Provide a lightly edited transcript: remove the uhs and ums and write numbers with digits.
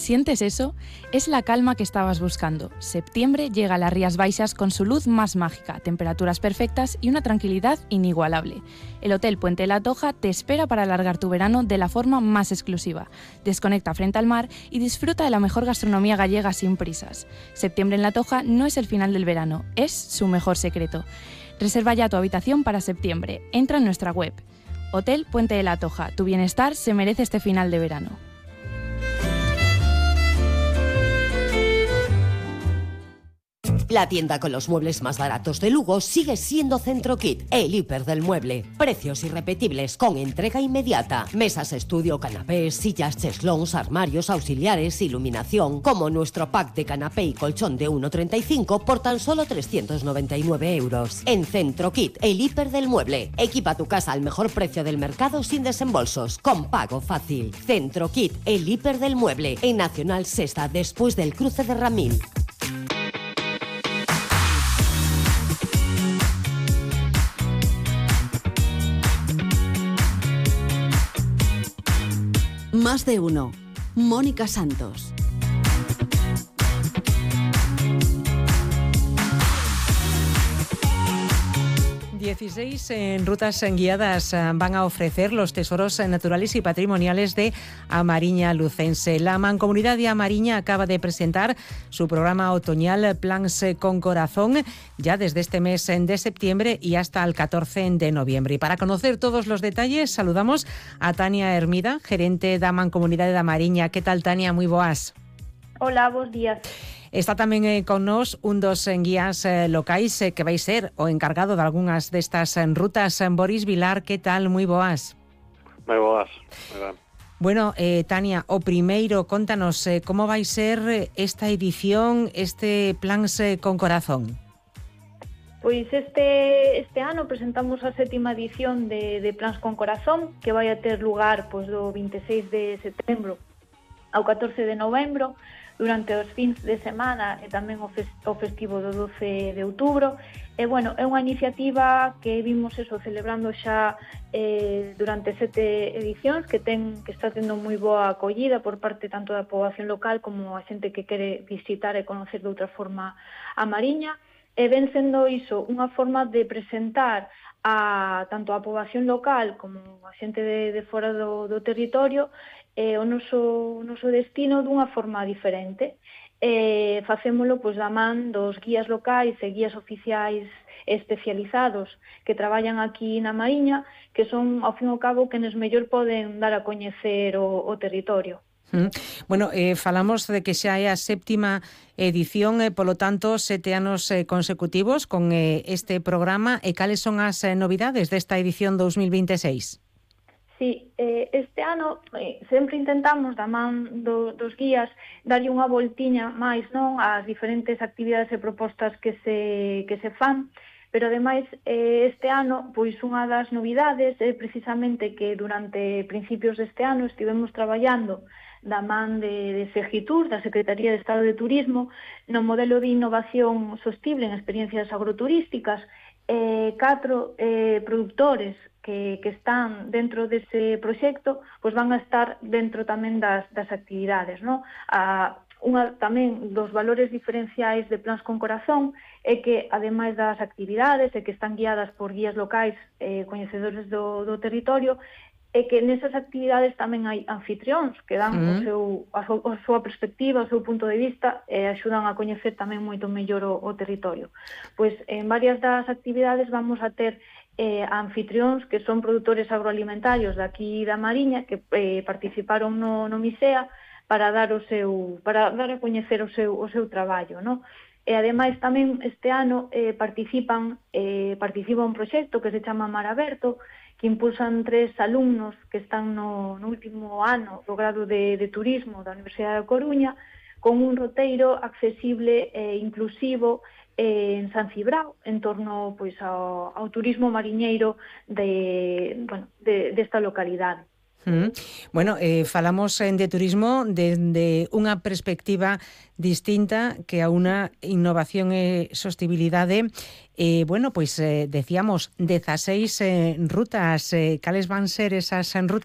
¿Sientes eso? Es la calma que estabas buscando. Septiembre llega a las Rías Baixas con su luz más mágica, temperaturas perfectas y una tranquilidad inigualable. El Hotel Puente de la Toja te espera para alargar tu verano de la forma más exclusiva. Desconecta frente al mar y disfruta de la mejor gastronomía gallega sin prisas. Septiembre en la Toja no es el final del verano, es su mejor secreto. Reserva ya tu habitación para septiembre. Entra en nuestra web. Hotel Puente de la Toja. Tu bienestar se merece este final de verano. La tienda con los muebles más baratos de Lugo sigue siendo Centrokit, el hiper del mueble. Precios irrepetibles con entrega inmediata. Mesas estudio, canapés, sillas, cheslons, armarios, auxiliares, iluminación. Como nuestro pack de canapé y colchón de 1,35 por tan solo 399 euros. En Centrokit, el hiper del mueble. Equipa tu casa al mejor precio del mercado sin desembolsos, con pago fácil. Centrokit, el hiper del mueble. En Nacional Sexta, después del cruce de Ramil. Más de uno. Mónica Santos. En rutas guiadas van a ofrecer los tesoros naturales y patrimoniales de Amariña Lucense. La Mancomunidad de Amariña acaba de presentar su programa otoñal Plans con Corazón ya desde este mes de septiembre y hasta el 14 de noviembre. Y para conocer todos los detalles saludamos a Tania Hermida, gerente da Mancomunidade de Amariña. Que tal, Tania? Moi boas. Hola, bos días. Está tamén con nós un dos guías locais que vai ser o encargado de algunhas destas rutas. Boris Vilar, que tal? Moi boas. Moi boas. Moi ben. Bueno, Tania, o primeiro, contanos como vai ser esta edición, este Plans con Corazón. Pois este ano presentamos a 7ª edición de Plans con Corazón, que vai a ter lugar pois, do 26 de setembro ao 14 de novembro, durante os fins de semana e tamén o festivo do 12 de outubro. E, bueno, é unha iniciativa que vimos celebrando xa durante 7 edicións, que está tendo moi boa acollida por parte tanto da poboación local como a xente que quere visitar e conocer de outra forma a Mariña. E ven sendo iso unha forma de presentar tanto a poboación local como a xente de fora do territorio o noso destino dunha forma diferente. Facémolo pois, da man dos guías locais e guías oficiais especializados que traballan aquí na Mariña, que son, ao fin e ao cabo, que nos mellor poden dar a coñecer o territorio. Bueno, falamos de que xa é a 7ª edición, polo tanto, 7 anos consecutivos con este programa. E cales son as novidades desta edición 2026? Sí, este ano sempre intentamos, da man dos guías, darlle unha voltiña máis non ás diferentes actividades e propostas que se fan, pero ademais este ano, pois unha das novidades é precisamente que durante principios deste ano estivemos traballando da man de Segitur, da Secretaría de Estado de Turismo, no modelo de innovación sostible en experiencias agroturísticas. 4 productores que están dentro dese proxecto pois van a estar dentro tamén das actividades, non? Tamén dos valores diferenciais de Plans con Corazón é que, ademais das actividades e que están guiadas por guías locais coñecedores do territorio, é que nesas actividades tamén hai anfitrións que dan a súa perspectiva, o seu punto de vista e axudan a coñecer tamén moito mellor o territorio. Pois en varias das actividades vamos a ter anfitrións que son produtores agroalimentarios daqui da Mariña que participaron no MISEA para dar a coñecer o seu traballo, non? E ademais tamén este ano participa un proxecto que se chama Mar Aberto, que impulsan 3 alumnos que están no último ano do grado de Turismo da Universidade da Coruña, con un roteiro accesible e inclusivo en San Cibrao, en torno pois, ao turismo mariñeiro desta localidade. Bueno, falamos de turismo desde unha perspectiva distinta que a unha innovación e sostibilidade. Bueno, pois decíamos 16 rutas. Cales van ser esas rutas?